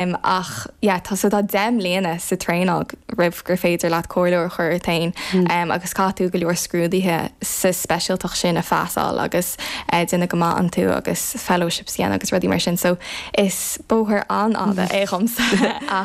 Ach yeah tá so tá 10 mbliana sa traenáil roimh gur féidir leat comhairleoir a chur ort féin agus caithfidh tú go leor scrúduithe sa speisialtacht sin a phasáil agus déanamh go maith iontu agus fellowships a dhéanamh agus rudaí mar sin so is bóthar an-fhada é dhomsa ach.